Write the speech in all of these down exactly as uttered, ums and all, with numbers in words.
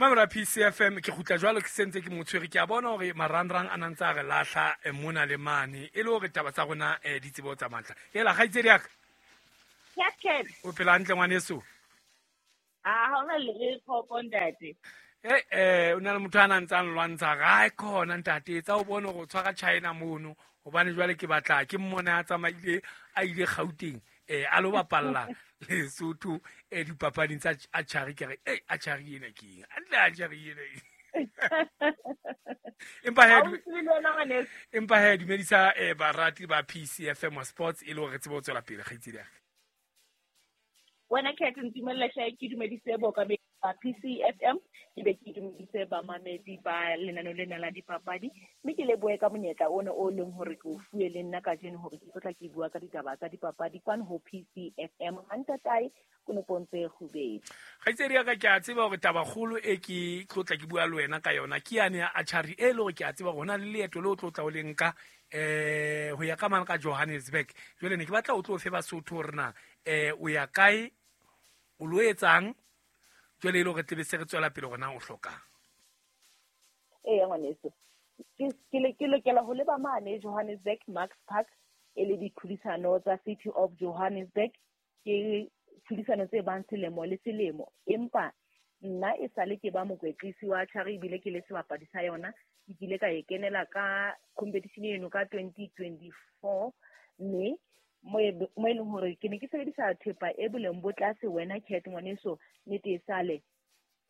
Mamela P C F M ke kgutla jwalo ke sentse ke motshwere ke a bona hore marangrang a nantse a re lahla mona le mane e le hore taba tsa rona di tsebo tsa matla. Hela kgaitsedi ya ka. Captain. O phela hantle ngwaneso? Ah, ha hona le khopo ntate. Eh eh o na le motho a nang tsang lwantsha ga e khona ntate tsa o bone go tshwara China mono hobane jwale ke batla ke mmone a tsamaile a ile Gauteng eh a lo bapalla Lesotho eh dipapading tsa archery ke re eh archery ena ke eng antle archery ena empa he empa he dumedisa eh barati ba P C F M Sports e le hore tsebo tswela pele kgaitsedi ya wena Cat ntumella hle ke dumedise boka ba P C F M ke be ke dumedise ba mamedi ba lenaneo lena la dipapadi mme ke lebohe ka monyetla ona o leng hore ke o fuwe le nna kajeno hore ke tlotla ke bua ka ditaba tsa dipapadi kwano ho P C F M hantatae konopong tse kgubedi. Kgaitsedi ya ka ke a tseba hore tabakgolo e ke tlotla ke bua le wena ka yona ke yane ya archery e le hore ke a tseba hore hona le leeto le o tlotla o le nka eh ho ya ka mane ka Johannesburg. Jwale ne ke batla o tlo fe Basotho hore na eh o ya kae o lo etsang jwale e le hore tlebe se re tswela pele hore na o hlokang. Ee ngwaneso ke ke lokela ho leba mane Johannesburg Max Park e le ditlhodisano tsa City of Johannesburg ke tlhodisano tse bang selemo le selemo empa nna e sale ke ba mokwetlisi wa archery ebile ke le sebapadi sa yona ke kile ka e kenela ka competition eno ka twenty twenty-four mme mo e leng hore ke ne ke sebedisa thepa e boleng bo tlase wena Cat ngwaneso nnete e sale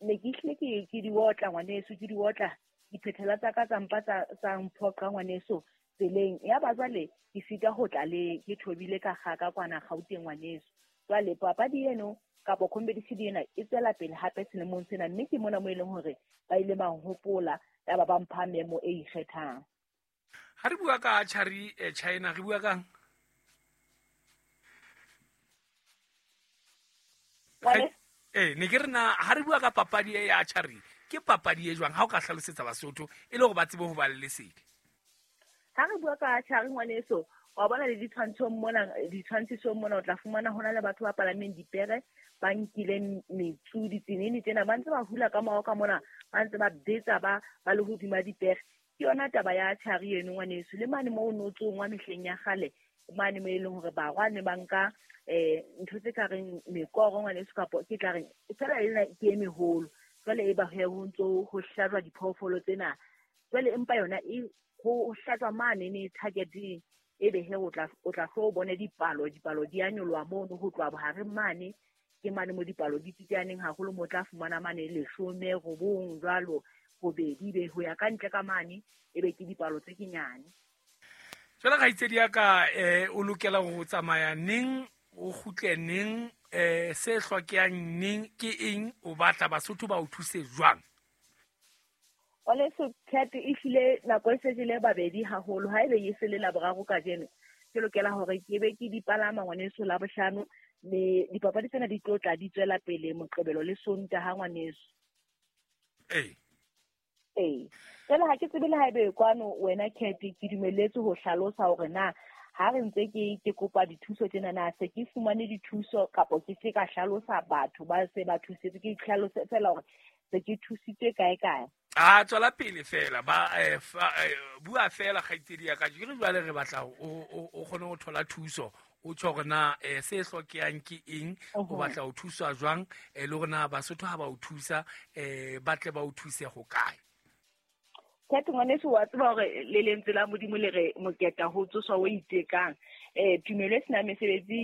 ne ke hlile ke ke di otla ngwaneso ke di otla diphethela tsa ka tsa mpa tsa tsa mphoqa ngwaneso tseleng ya ba jwale ke sita ho tla le ke thobile ka kgaka kwana Gauteng ngwaneso. Jwale papadi eno kapa competition ena e tswela pele hape selemong sena mme ke mona mo e leng hore ba ile ba hopola ya ba ba mpha memo e ikgethang. Ha re bua ka archery China re bua kang? Eh ne ke re na ha re bua ka papadi e ya archery ke papadi e jwang ha o ka hlalosetsa Basotho e le hore ba tsebe ho ba le lesedi? Ha re bua ka archery ngwaneso wa bona le ditshwantshong mona ditshwantshisong mona o tla fumana hona le batho ba palameng dipere ba nkileng metsu ditsenene tsena ba ntse ba hula ka mao ka mona ba ntse ba betsa ba ba le hodima dipere. Ke yona taba ya archery eno ngwaneso le mane moo no tsongwa mehleng ya kgale mane mo e leng hore barwa ne ba nka eh ntho tse ka reng mekoro ngwaneso kapo ke tla reng fela ena ke e meholo jwale e ba ho ntso ho hlajwa diphoofolo tsena jwale empa yona e ho hlajwa mane ne targeting e be he o tla o tla hlo bone dipalo dipalo di a nyoloha mono ho tloha bohareng mane ke mane mo dipalo di tsitsaneng haholo mo tla fumana mane leshome robong jwalo robedi be ho ya ka ntle ka mane e be ke dipalo tse kenyane. Jwale kgaitsedi ya ka eh o lokela ho tsamaya neng o kgutle neng eh se hlokehang neng ke eng o batla Basotho ba o thuse jwang? Ngwaneso Cat e hlile nako e sejele babedi haholo ha ebe e se le laboraro kajeno ke lokela hore ke be ke dipalama ngwaneso la bohlano mme dipapadi tsena di tlo tla di tswela pele Moqebelo le Sontaha ngwaneso. Ee. Ee. Jwale ha ke tsebe le ha ebe kwano wena Cat ke dumelletswe ho hlalosa hore na ha re ntse ke ke kopa dithuso tsena na se ke fumane dithuso kapo ke se ka hlalosa batho ba se ba thusetse ke hlalose fela hore se ke thusitswe kae kae. A tswela pele fela ba eh, bua fela kgaitsedi ya ka ke re jwale re batla o o kgone ho thola thuso o tjho hore na eh, se hlokehang ke eng o batla ho thuswa jwang eh, le hore na Basotho ha ba o thusa eh, ba tle ba o thuse ho kae. Cat ngwaneso wa tseba hore le lentswe la Modimo le re moketa ho tsoswa o itekang eh tumelo e sena mesebetsi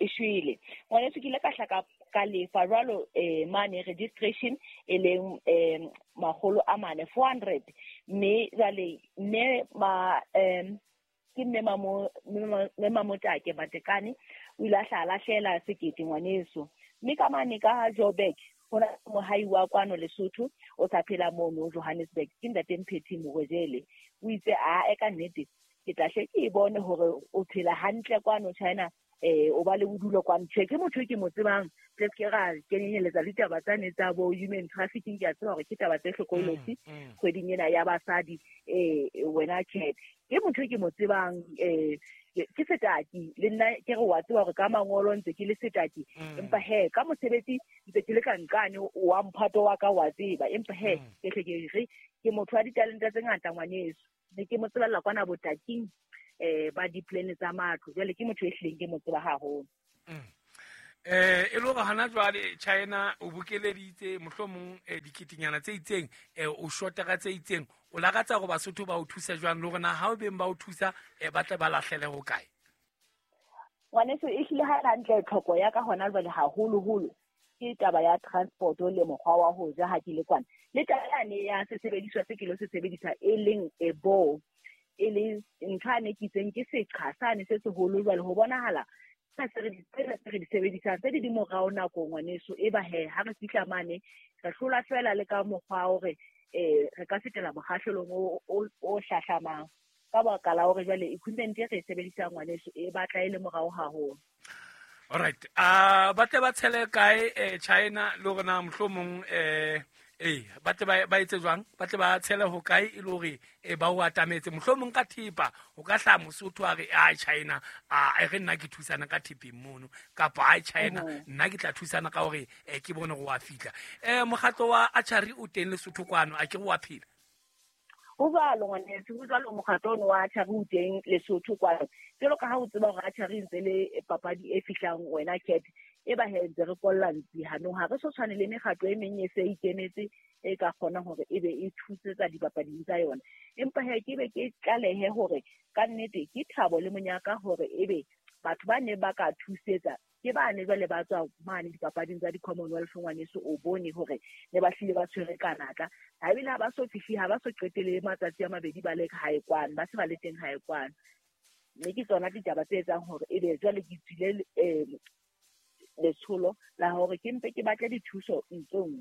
e shwele. Ngwaneso ke ile ka hla ka lefa jwalo eh mane registration e leng eh makgolo a mane four hundred mme jwale mme ma em ke mme mamo mme Mamotake Matekane o ile a hla lahlela sekete ngwaneso mme ka mane ka Joburg hona mohai wa kwano Lesotho o sa phela mono Johannesburg ke ntate Mphethi Morojele o itse a e ka nnete ke tla hle ke bone hore o phela hantle kwano China eh o ba le bodulo kwano. Tjhe ke motho ke mo tsebang Re ke ra kenyeletsa le ditaba tsane tsa bo human trafficking, ke a tseba hore ke taba tse hlokolosi kgweding ena ya basadi. Eh wena Cat, ke motho ke mo tsebang, eh ke setaki le nna, ke re wa tseba hore ka mangolo ntse ke le setaki, empa he ka mosebetsi ntse ke le ka nqane wa mphato wa ka wa tseba, empa he ke hle ke re ke motho wa ditalente tse ngata ngwaneso. Ne ke mo tsebella kwana botaking eh ba di-plan tsa matlo, jwale ke motho e hlileng ke mo tseba haholo. Eh e le hore hana jwale China o bokeleditse mohlomong diketinyana tse itseng, o shota ka tse itseng, o lakatsa hore Basotho ba o thusa jwang, le hore na ha o beng ba o thusa ba tle ba lahlele ho kae? Ngwaneso, e hlile ha hantle tlhoko ya ka hona jwale haholoholo ke taba ya transport le mokgwa wa ho ja ha ke le kwana, le taba yane ya sesebediswa se ke lo se sebedisa e leng e bo e le ntho ane ke itseng ke seqha sane se seholo. Jwale ho bonahala se re di sebedisang tse di di morao nako ngwaneso, e ba he ha re fihla mane re hlola fela le ka mokgwa hore eh re ka fetela mokgahlelong o o hlahlamang ka baka la hore jwale equipment e re e sebedisang ngwaneso e batla e le morao haholo. All right, a ba tle ba tshele kae China le hore na mohlomong eh eh ba tle ba etse jwang, ba tle ba tshele ho kae e le hore ba o atametse mohlomong ka thepa, o ka hla Mosotho a re a China a re nna ke thusana ka thepeng mono, kapa a China nna ke tla thusana ka hore ke bone go wa fihla. Eh mokgatlo wa archery o teng Lesotho kwano, a ke re wa phela? Ho jwalo ngwaneso, ho jwalo mokgatlo ono wa archery o teng Lesotho kwano. Jwalo ka ha o tseba hore archery ntse le papadi e fihlang wena Cat, e ba he ntse re kolla ntsi hanong, ha re so tshwane le mekgatlo e meng e se ikemetse e ka kgona hore e be e thusetsa dipapading tsa yona. Empa he ke be ke tlalehe hore ka nnete ke thabo le monyaka hore ebe batho ba ne ba ka thusetsa ke ba ne jwale ba tswa mane dipapading tsa di-Commonwealth ngwaneso, o bone hore ne ba hlile ba tshwere ka natla, ha ebile ha ba so fihle, ha ba so qetele matsatsi a mabedi ba le hae kwano, ba se ba le teng hae kwano. Mme ke tsona ditaba tse etsang hore ebe jwale ke tswile um letsholo la hore ke mpe ke batle dithuso ntsong.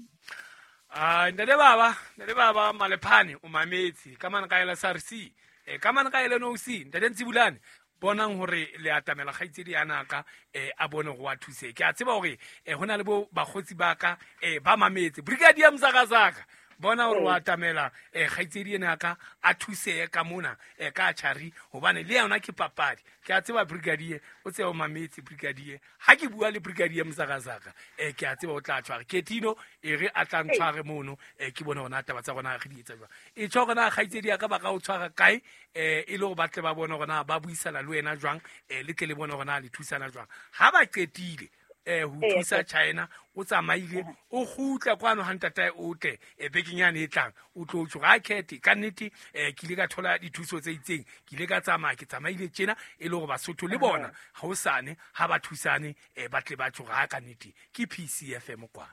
Ah ntate baba, ntate baba Malephane o mametse ka mane ka ela S R C, eh ka mane ka ela N O C, ntate Ntsibulane bonang hore le atamela kgaitsedi ya naka eh a bone go wa thuse. Ke a tseba hore eh hona le bo bakgotsi ba ka eh ba mametse Brigadier Mzakazaka, bona hore wa atamela eh kgaitsedi ena ka a thuse ka mona eh ka archery, hobane le yona ke papadi. Ke a tseba Brigadier o tseba mametse Brigadier, ha ke bua le Brigadier Mzakazaka eh ke a tseba o tla tshwara Ketino e re a tla ntshware mono, eh ke bone hona taba tsa rona re di etsa jwang. E tjho hore na kgaitsedi ya ka ba ka o tshwara kae eh e le hore ba tle ba bone hore na ba buisana le wena jwang, eh le tle le bone hore na le thusana jwang. Ha ba qetile eh ho thusa China o tsamaile o kgutla kwano ha ntatae o tle e bekeng yane e tlang o tlo tjho ha khethe ka nnete eh ke ile ka thola dithuso tse itseng, ke ile ka tsamaya ke tsamaile tjena e le hore Basotho le bona ha o sane ha ba thusane eh ba tle ba tjho ha ka nnete ke P C F M kwana.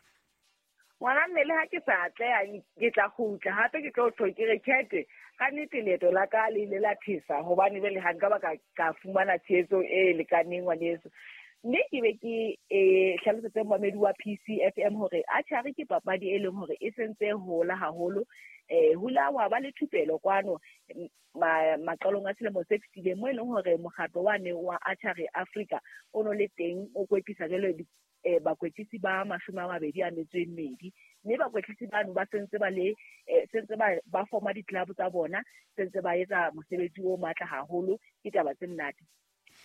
Ngwana mme le ha ke sa atleha ke tla kgutla hape ke tlo tjho ke re khethe ka nnete leeto la ka le ile la thesa, hobane jwale ha nka ba ka ka fumana tshehetso e lekaneng ngwaneso. Mme ke be ke eh hlalosetse momamedi wa P C F M hore archery ke papadi e leng hore e sentse hola haholo, eh hula wa ba le thupelo kwano maqalong a selemo se fetileng mo e leng hore mokgatlo wa ne wa Archery Africa o no le teng o kwetlisa jwale eh bakwetlisi ba mashome a mabedi a metso e mmedi, mme bakwetlisi bano ba sentse ba le sentse ba ba forma di-club tsa bona, sentse ba etsa mosebetsi o matla haholo. Ke taba tse monate.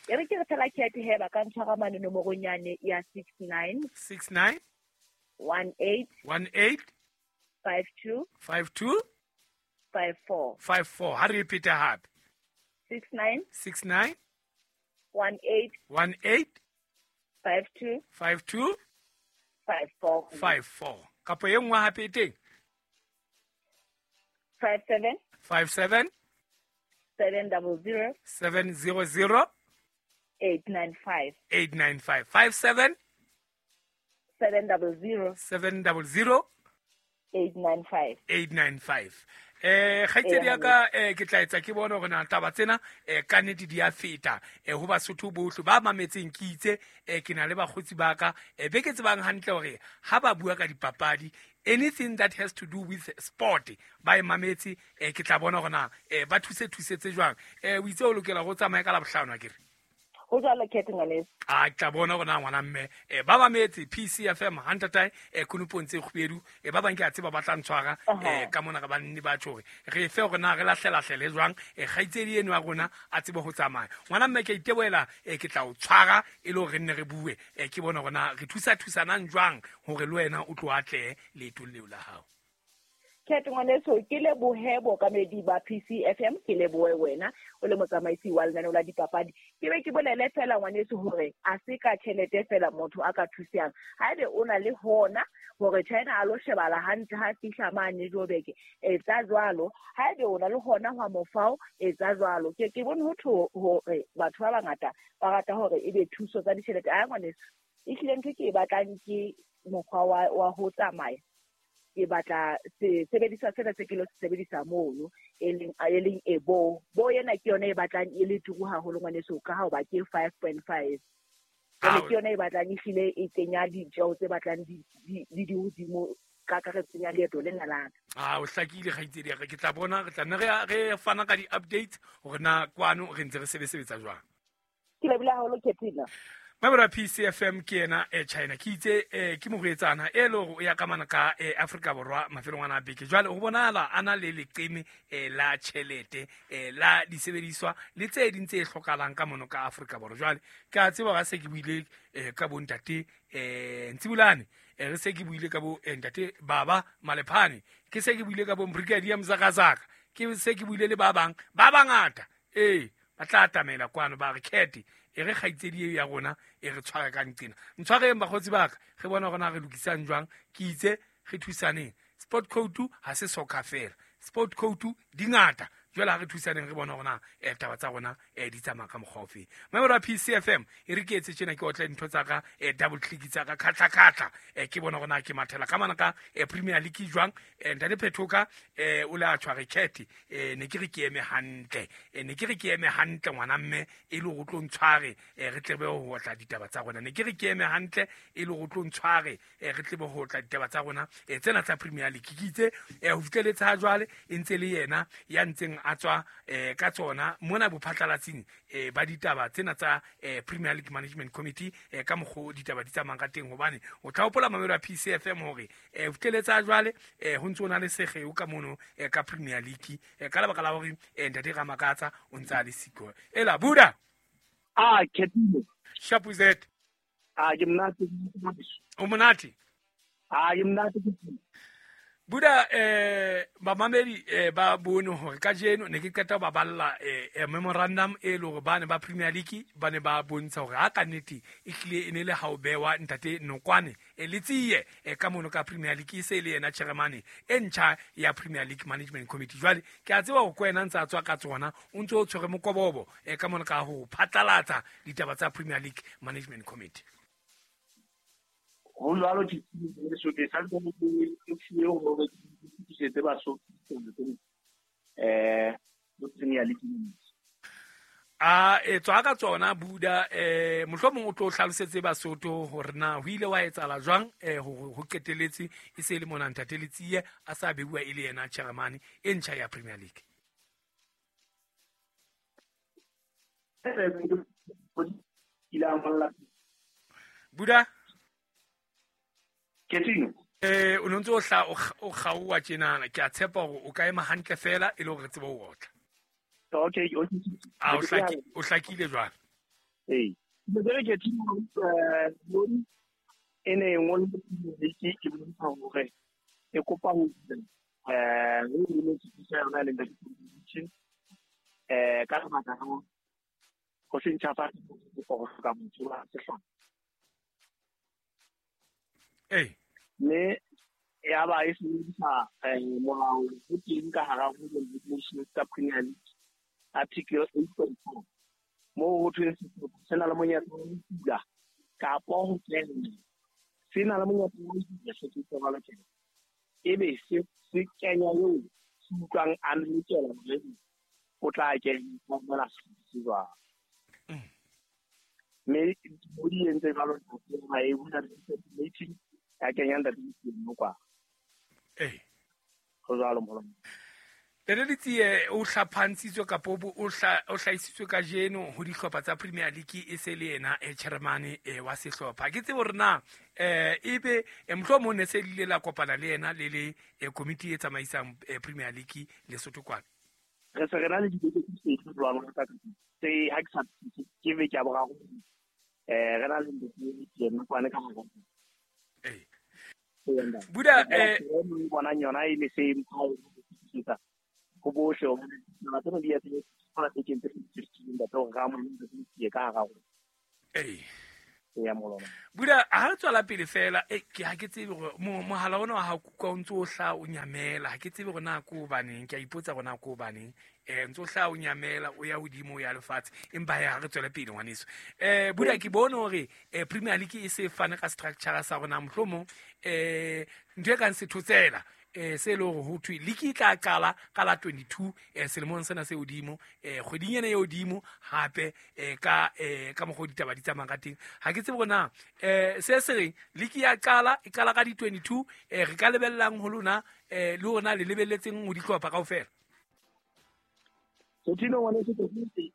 E re ke re fela khethe he ba ka ntshwara mane nomorong yane ya six nine six nine one eight one eight five two five two five four five four. Ha re ipete hape six nine six nine one eight one eight five two five two five four five four. Kapo e nngwe hape e teng five seven five seven seven double zero seven zero zero eight nine five eight nine five five seven seven double zero seven double zero eight nine five eight nine five. Eh kgaitsedi ya ka eh ke tla etsa ke bone hore na taba tsena eh ka nnete di a feta eh ho Basotho bohle ba mametseng ke itse eh ke na le bakgotsi ba ka eh be ke tsebang hantle hore ha ba bua ka dipapadi anything that has to do with sport ba e mametse eh ke tla bona hore na eh ba thuse thusetse jwang. Eh o itse o lokela go tsamaya ka la bohlano akere? Ho jwalo Cat ngwaneso. A ke tla bona hore na ngwana mme eh ba mametse P C F M hantatae eh konopong tse kgubedu eh ba bang ke a tseba ba tla ntshwara eh ka mona re ba nne ba tjho hore re fe hore na re lahlelahlele jwang eh kgaitsedi eno ya rona a tsebe ho tsamaya. Ngwana mme ke a itebohela eh ke tla o tshwara e le hore re nne re bue eh ke bona hore na re thusa thusanang jwang hore le wena o tlo atlehe leetong leo la hao. Cat ngwaneso, ke lebohe bookamedi ba P C F M, ke lebohe wena o le motsamaisi wa lenaneo la dipapadi. Ke be ke bolele fela ngwaneso hore a se ka tjhelete fela motho a ka thusang. Haebe o na le hona hore China a lo shebala hantle ha fihla mane Joburg, etsa jwalo. Haebe o na le hona hwa mofao, etsa jwalo. Ke ke bone ho thwe hore batho ba bangata ba rata hore ebe thuso tsa ditjhelete. A ngwaneso, ehlile ntho ke e batlang ke mokgwa wa wa ho tsamaya. Ke batla se sebediswa sena se ke lo se sebedisa mono e leng e leng e bo bo yena ke yona e batlang e le turu haholo ngwaneso ka ha o ba ke five point five. Jwale ke yona e batlang ehlile e kenya ditjeo tse batlang di di di hodimo ka karetso ya leeto lena la ka. Ah, o hlakile kgaitsedi ya ka. Ke tla bona re tla nne re re fana ka di-updates hore na kwano re ntse re sebesebetsa jwang. Ke lebohile haholo Katrina. Mabra P C F M ke ena e China ke itse eh, ke morwetsana e le hore o ya ka mana ka eh, Afrika Borwa mafelong ana a beke. Jwale ho bonahala a na le leqeme eh, la tjhelete eh, la disebediswa le tse ding tse hlokahalang ka mono ka Afrika Borwa. Jwale ke a tseba ha se ke buile eh, ka bontate eh, Ntsibulane eh, re se ke buile ka bo eh, ntate Baba Malephane, ke se ke buile ka bo Brigadier Mzakazaka, ke se ke buile le ba bang ba bangata eh ba tla atamela kwano ba re Cat e re kgaitsedi eo ya rona e re tshware ka nqena. Ntshwareng bakgotsi ba ka, re bona hore na re lokisang jwang. Ke itse re thusaneng. Sport code ha se soccer fela, sport code di ngata. Jwale ha re thusaneng re bona hore na eh, taba tsa rona eh, di tsamaya ka mokgwa ofe. Mamelo ya P C F M e re ke etse tjena, ke otle dintho tsa ka eh, double click tsa ka khatla khatla eh, ke bona hore na ke mathela ka mana ka eh, Premier League jwang. Eh, ntate Phethoka eh, o le a tshware Cat eh, ne ke re ke eme hantle eh, ne ke re ke eme hantle ngwana mme e le hore o tlo ntshware eh, re tlebe ho otla ditaba tsa rona. Ne ke re ke eme hantle e le hore o tlo ntshware eh, re tlebe ho otla ditaba tsa rona eh, tsena tsa Premier League. Ke itse eh, ho fihleletse ha jwale e ntse le yena ya ntseng a tswa eh, ka tsona mona bophatlalatsing eh, ba ditaba tsena tsa eh, Premier League Management Committee eh, ka mokgo ditaba di tsamayang ka teng. Hobane o tla hopola mamelo ya P C F M hore eh, ho fihleletse ha jwale eh, ho ntse ho na le sekgeo ka mono eh, ka Premier League eh, ka lebaka la hore eh, ntate Ramakatsa o ntse a le siko. Ela Buda. Ah, Ketile. Shapuzet. Ah, ke monate. O monate? Ah, ke monate. Buda eh bamamedi eh, ba bone hore kajeno ne ke qeta ho ba balla eh, eh, memorandum e le hore ba ne ba Premier League ba ne ba bontsha hore ha ka nnete e hlile e ne le ha o bewa ntate Nokwane eh, le tsiye eh, ka mono ka Premier League e se le yena chairman e ntjha ya Premier League Management Committee. Jwale ke a tseba hore ko wena ntse a tswa ka tsona o ntse o tshwere mokobobo eh, ka mono ka ho phatlalatsa ditaba tsa Premier League Management Committee. Ho jwalo ke so ke sa ntse ke fiwe hore ke fetisetsa Basotho eh bo Premier League. A e tswa ka tsona Buda eh mohlomong o tlo hlalosetse Basotho hore na ho ile wa etsahala jwang eh hore ho qeteletse e se le mona ntate Letsie a sa beuwa e le yena chairman e ntjha ya Premier League. Buda Ketino. Eh o ntse o hla o kgaowa tjenana, ke a tshepa hore o ka ema hantle fela e le hore re tsebe ho otla. Okay, okay. Ah, o hlakile, o hlakile jwang? Ee. Ke Ketino eh e ne ngwe ke ke bontsha hore e kopa ho eh ho le tsitsa yona le ntate eh ka lebaka la ho se ntjhafatse go hloka motho wa sehlopha. Ee. Mme ya ba e sebedisa molao o teng ka hara ho regulations tsa Premier League article eight point four moo ho thweng sehlopha se na le monyetla wa ho kula kapa ho kena, se na le monyetla wa ho kula se ke tsebalo tjena ebe se se kenya eo se utlwang a lokela hore o tla kenya mona se jwang. Mme o di entse jwalo ha e bula meeting ya kenya ntate Nokwane. Eh. Ho jwalo molo. Ntate Letsie o hlapantshitswe kapa o hlahisitswe kajeno ho dihlopha tsa Premier League e se le yena e chairman wa sehlopha. Ke tsebe hore na eh ebe mohlomong ne se le la kopana le yena le le committee e tsamaisang Premier League Lesotho kwana. Re se re na le dibeke tse pedi jwalo ka tse ha ke sa ke beke ya boraro eh re na le dibeke kwana ka hore eh Buda eh bona yona e le same ka go bohle o na tsena di ya tse tsona tse tse tse ntate o ga mo ke ka ga go eh ya molona Buda ha re tswela pele fela e ke ha ke tsebe gore mohala ona wa ha kuka o ntse o hla o nyamela ha ke tsebe gore na ko baneng ke a ipotsa gore na ko baneng eh ntse o hla o nyamela o ya hodimo o ya lefatshe empa ha re tswele pele ngwaneso eh Buda ke bone hore Premier League e se fane ka structure sa rona mohlomong eh ntho e kang sethotsela eh se le hore ho thwe league e tla qala ka la twenty-two eh selemong sena se hodimo eh kgweding ena e hodimo hape eh ka eh ka mokgwa ditaba di tsamayang ka teng ha ke tsebe hore na eh se se reng league ya qala e qala ka di twenty-two eh re ka lebellang ho lona eh le rona le lebelletseng ho dihlopha kaofela. So tino ngwane se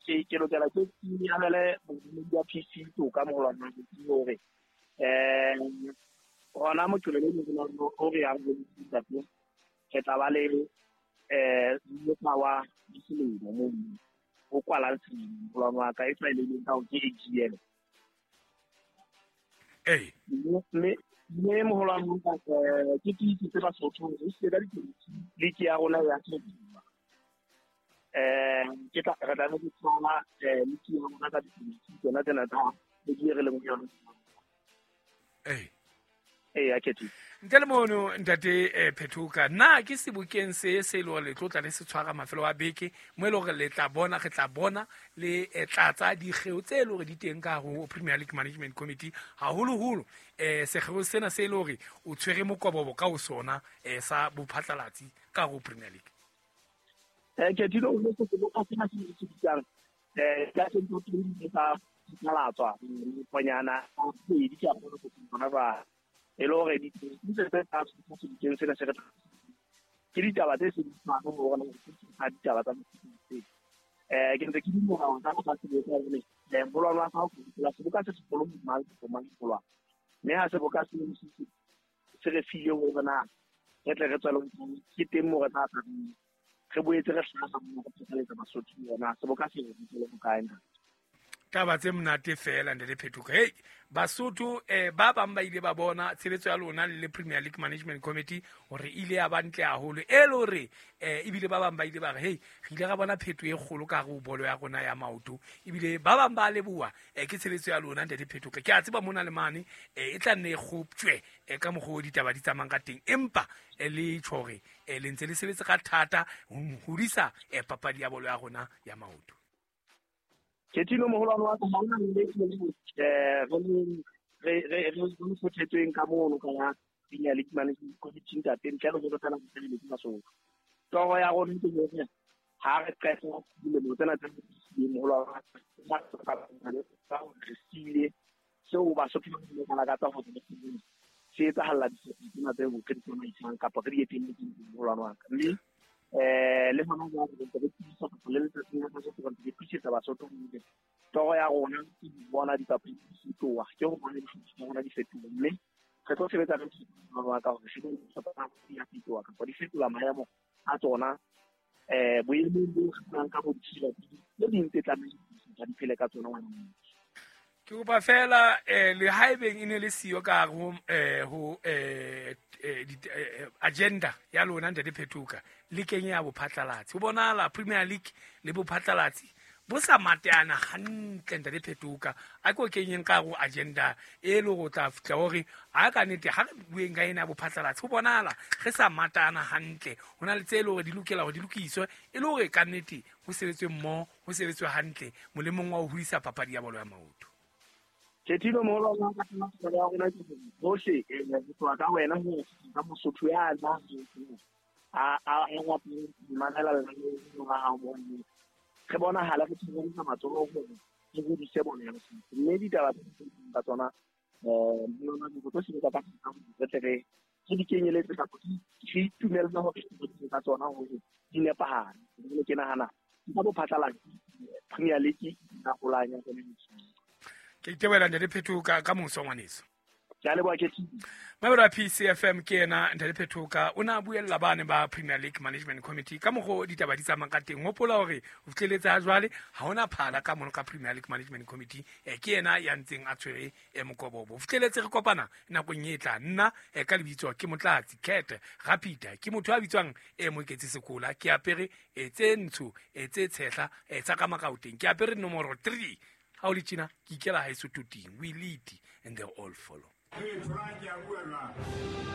ke ke lokela ke abele bodumedi ya P C to ka moholwana ke hore eh hona moqebelo o re yang go ntate re tla ba le eh mokgwa wa diselemo mo o kwalang selemo molwana wa ka e tlwaelehileng ka ke A G M. Eh mme mme moholwana wa ka ke ke tse Basotho re se ka league ya rona ya eh ke tla re tla re tswana eh league ya rona ka di tsona tsena tsa league re leng ho yona. Eh eh ya ketsi ntle le mono ntate Phethoka na ke sebokeng se se le hore le tlotla le se tshwara mafelo a beke mo e le hore le tla bona re tla bona le tlatsa dikgeo tse le hore di teng ka ho Premier League Management Committee haholoholo eh sekgeo sena se le hore o tshwere mokobobo ka ho sona eh sa bophatlalatsi ka ho Premier League. Eh ke dilo o se seboka sena se se bitsang eh ka se ntho tse tsa phatlalatsa moponyana a kgwedi ke a kgona go bona ba e le hore ditse tse tsa sebokeng sena se re ke ditaba tse sebediswang ho rona ha ditaba tsa mosebetsi eh ke ntse ke dumela hore ka go sebetsa hore eh molwana wa hao go seboka se segolo mang go mang molwana mme ha seboka se se re file hore na re tle re tswele ke teng mo re tla tla re boetse re hlaha mo go phatlalatsa Basotho yona seboka se re tswele ho kae na taba tse monate fela ntate Phethoka. Hey Basotho eh ba bang ba ile ba bona tshebetso ya lona le Premier League Management Committee hore ile ya ba ntle haholo e le hore eh ebile ba bang ba ile ba re hey re ile ra bona phetho e kgolo ka ho bolo ya rona ya maoto ebile ba bang ba leboha eh ke tshebetso ya lona ntate Phethoka. Ke a tseba mona le mane eh e tla nne e kgoptjwe eh ka mokgwa o ditaba di tsamayang ka teng empa le tjho hore le ntse le sebetse ka thata ho hodisa papadi ya bolo ya rona ya maoto. Ke tino moholwane wa ka ha ona le eh re re re re fothetsweng ka mono ka ya Premier League Management Committee ntate ntle le go fela go sebeletsa Basotho. Toro ya rona ke hore ha re qeta dilemo tsena tse moholwane wa ka re sile seo Basotho ba lakatsa ho se etsahalla ditsena tse re di tsamaisang kapa re di etelletseng moholwane wa ka mme eh le hona jwale re ntse re tiisa go le letsatsing la kajeno re ntse re tiisetsa Basotho hore toro ya rona ke ho bona dipapadi di fetoha ke ho bona dihlopha tsa rona di fetoha mme re tlo sebetsa ka wa ka hore dihlopha di a fetoha kapa di fetola maemo a tsona eh boemong bo re ka bo ditshila tse ding tse tlamehileng di phele ka tsona ngwana. Ke kopa fela eh le haebeng e ne le siyo ka ho eh ho eh agenda ya lona ntate Phethoka le kenye ya bophatlalatsi ho bonahala Premier League le bophatlalatsi bo sa mateana hantle ntate Phethoka a ko kenyeng ka ho agenda e le go tla fitla hore a ka nete ha re bueng ka ena bophatlalatsi ho bonahala re sa matana hantle ho na le tse le hore di lokela hore di lokiswe e le hore ka nete ho sebetswe mmoho ho sebetswe hantle molemong wa ho hodisa papadi ya bolo ya maoto. Ke tino moholwana wa ka ya rona ke bohle eh go tloha ka wena ho ka Mosotho ya tla a a a mamela lenaneo la hao mo re bonahala re tshehetsa matsoho hore re hodise bolo ya Lesotho mme ditaba tse ka tsona eh lona di tlo sebetsa ka re tle re Re di kenyeletse kapa re itumella hore ka tsona hore di nepahale. Jwale ke nahana ka bo phatlalatsi Premier League ka holanya. Ke itebohela, Ntate Phetoka, ka moso, ngwaneso. Ke a leboha, ke Mabelo a P C F M, ke ena Ntate Phetoka, o ne a buella bane ba Premier League Management Committee ka mokgo ditaba di tsamayang ka teng. Hopola hore o fihleletse ha jwale ha hona phala ka mono ka Premier League Management Committee. eh, ke yena ya ntseng a tshwere eh, mokobobo. O fihleletse re kopana nakong e tla. Nna eh, ka lebitso ke Motlatsi Cat Rapita, ke motho a bitswang eh, Moeketsi Sekola. Ke apere eh, tse ntsho, eh, tse tshehla, eh, tsa ka makaoteng. Ke apere nomoro three. Ha o le tjena ke ikela haeso toting. We lead and they all follow. Hey, Frank, ya bua jwang?